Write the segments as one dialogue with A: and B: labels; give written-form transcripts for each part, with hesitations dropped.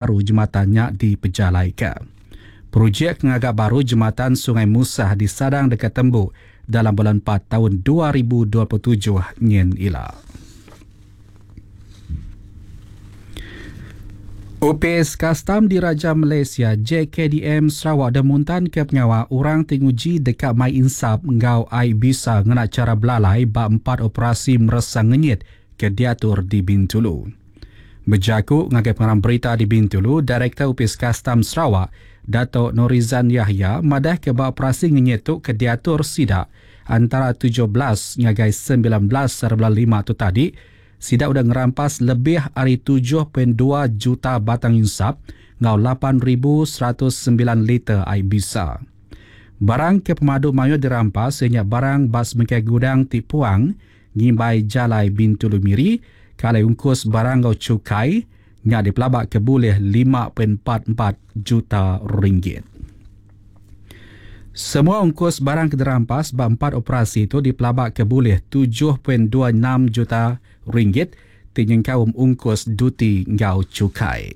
A: Baru jematan nya dipejalaika. Projek ngaga baru jematan Sungai Musah disadang deka tembu dalam bulan 4 taun 2027 nyin ila. Opis Kastam Diraja Malaysia JKDM Sarawak udah muntanka pengawa orang ti nguji deka mai insap enggau ai bisa ngena chara belalai ba empat operasi meresa ngenyit ke diatur di Bintulu. Bejaku ngagai pengarang berita di Bintulu, Direktor Opis Kastam Sarawak, Dato Norizan Yahya madahka ba operasi ngenyit tu ke diatur sida antara 17 ngagai 19 hari bulan lima tu tadi, sida udah ngerampas lebih ari 7.2 juta batang insap enggau 8,109 liter ai bisa. Barang ke pemadu mayuh dirampas iya nya barang ba sebengkah gudang ti puang ngimbai Jalai Bintulu Miri, ke alai ungkus barang enggau chukai nya dipelaba ke bulih 5.44 juta ringgit. Semua ungkus barang ke dirampas ba empat operasi tu dipelaba ke bulih 7.26 juta ringgit ti nyengkaum ungkus duti enggau chukai.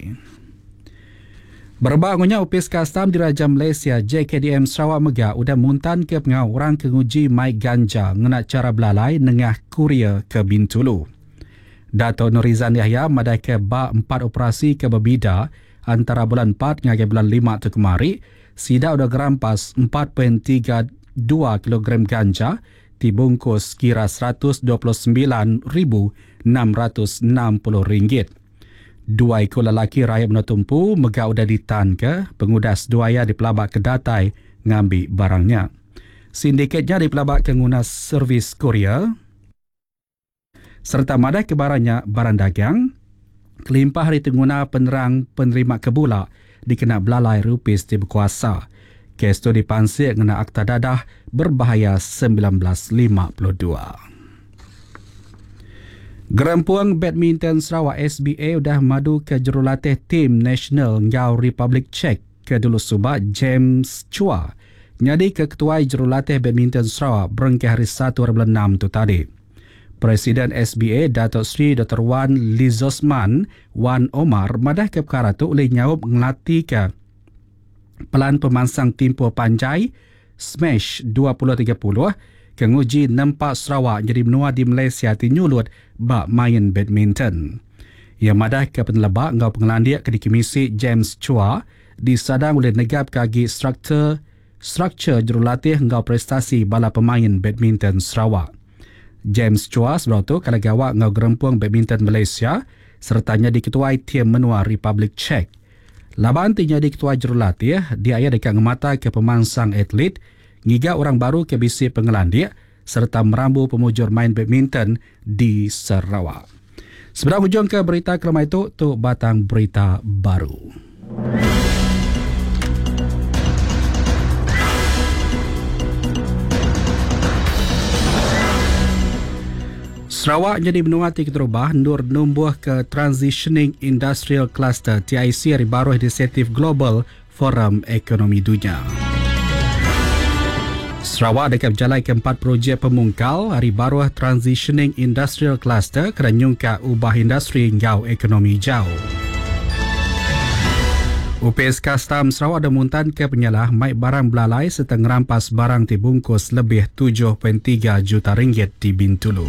A: Berebak enggau nya, Opis Kastam Diraja Malaysia JKDM Sarawak mega udah muntanka pengawa orang ke nguji mai ganja ngena chara belalai nengah kurier ke Bintulu. Dato Norizan Yahya madahka ba empat operasi ke bebida antara bulan 4 ngagai bulan 5 tu kemari, sida udah ngerampas 4.32 kilogram ganja ti bungkus kira RM129,660. Dua iku lelaki rayat menua tu empu mega udah ditanka pengudah seduai iya dipelabaka datai ngambi barang nya. Sindiket nya dipelabaka nguna servis kurier sereta madahka barang nya barang dagang kelimpah ari ti nguna penerang penerima ke bula dikena belalai ari opis ti bekuasa. Kes tu dipansik ngena Akta Dadah Berbahaya 1952. Gerempung Badminton Sarawak SBA udah maduka jurulatih tim nasional enggau Republik Czech ke dulu suba James Chua nyadika ketuai jurulatih badminton Sarawak berengkah hari 1 hari bulan 6 tu tadi. Presiden SBA Dato Sri Doktor Wan Lizosman Wan Omar madahka pekara tu ulih nyaup ngelatika Pelan Pemansang Timpuh Panjai Smash 2030 ke nguji nempa Sarawak nyadi menua di Malaysia ti nyulut ba main badminton. Iya madahka peneleba enggau pengelandik ke dikemisi James Chua disadang ulih negapka agi struktur struktur jurulatih enggau prestasi bala pemain badminton Sarawak. James Chua sebedau tu kala gawa enggau Gerempung Badminton Malaysia sereta nyadi ketuai tim menua Republik Czech. Laban ti nyadi ketuai jurulatih, dia iya deka ngemataka pemansang atlet, ngiga orang baru ke bisi pengelandik sereta merambu pemujur main badminton di Sarawak. Sebedau ngujungka berita kelemai tu, tu batang berita baru. Sarawak nyadi menua ti keterubah endur numbuhka Transitioning Industrial Cluster, TIC, ari baruh inisiatif Global Forum Ekonomi Dunya. Sarawak deka bejalaika empat projek pemungkal ari baruh Transitioning Industrial Cluster kena nyungkak ubah industri enggau ekonomi jauh. Opis Kastam Sarawak udah muntanka penyalah mai barang belalai sereta ngerampas barang ti bungkus lebih 7.3 juta ringgit di Bintulu.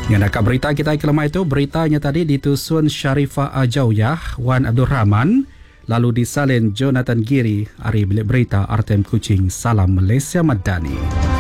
A: Nya naka berita kitai ke lemai tu, berita nya tadi ditusun Sharifah Ajauyah, Wan Abdul Rahman, lalu disalin Jonathan Giri ari Bilik Berita RTM Kuching. Salam Malaysia Madani.